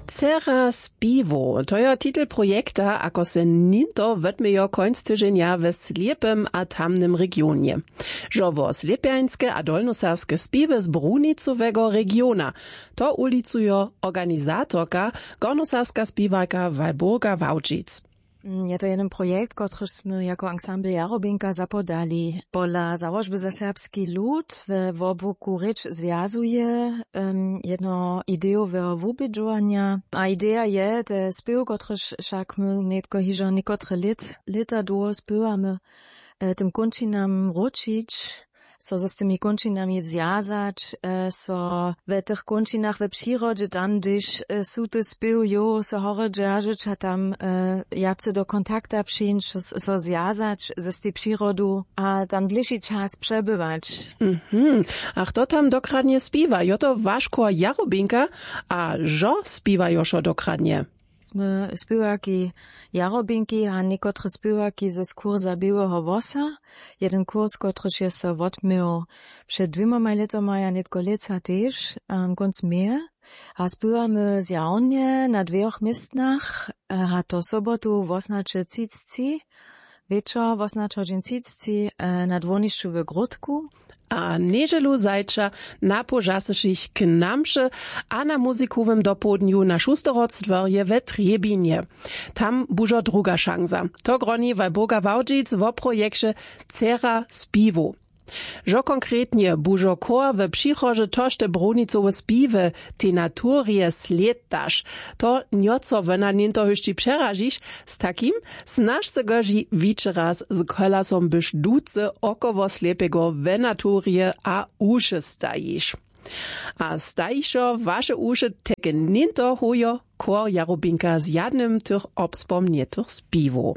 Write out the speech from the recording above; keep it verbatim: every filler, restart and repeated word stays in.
Dcera spiwow, to jo titel projekta ako se ninto wotmějo końc tyženja we slěpym a tamnym regionje. Žo wo slěpjańske a dolnoserbske spiwy z brunicowego regiona, to ulicujo organizatorka, gornoserbska spiwarka walburga wałdźic. Je to jeden projekt, kotryž smy jako ansambl jarobinka zapodali. Pola załožby za serbski lud we wobłuku rěč zwjazuje jedno idejoweho wubědźowanja. A ideja je te spěw kotryž wšak my nětko hižo někotre lět lěta dołho spěwamy, tym kónčinam wróćić, so z tymi kónčinami zwjazać, so we tych kónčinach we přirodźe tam hdźež su te spěw jow so horje dźeržeć a tam wjace do kontakta přińć, so zwjazać z tej přirodu a tam dlěši čas přebywać. Mhm. A chto tam dokradnje spiwa? Jo to waš chór jarobinka? A žo spiwajo wšo dokradnje? Smy spěwarki jarobinki a někotre spěwarki z kursa běłeho włosa. Jeden kurs kotryž je so wotměł před dwěmomaj lětomaj a nětko lětsa tež kónc meje. A spěwamy zjawnje na dwěch městnach, a to sobotu wosnaće třicci, wječor wosnaće hodźin třicci, na dwórnišću w gródku. A njedźelu zajča na połžasyšich k namše a na muzikowym dopołdnju na šusterhorcdworje we trjebinje. Tam bužo druga šansa. To groni walburga wałdźic wo projekće dcera spiwow. Žo konkretnje bužo chór we přichodźe tošte brunicowe spiwy tej naturje slědtaš, to njoco wona něnto hyšći přeražiš, z takim snaž se goži wićeraz z kolasom byš duce około slěpego we naturje a uše stajiš. A stajišo waše uše teke něnto hojo chór jarubinka z jadnym tych obspomnjetych spiwow.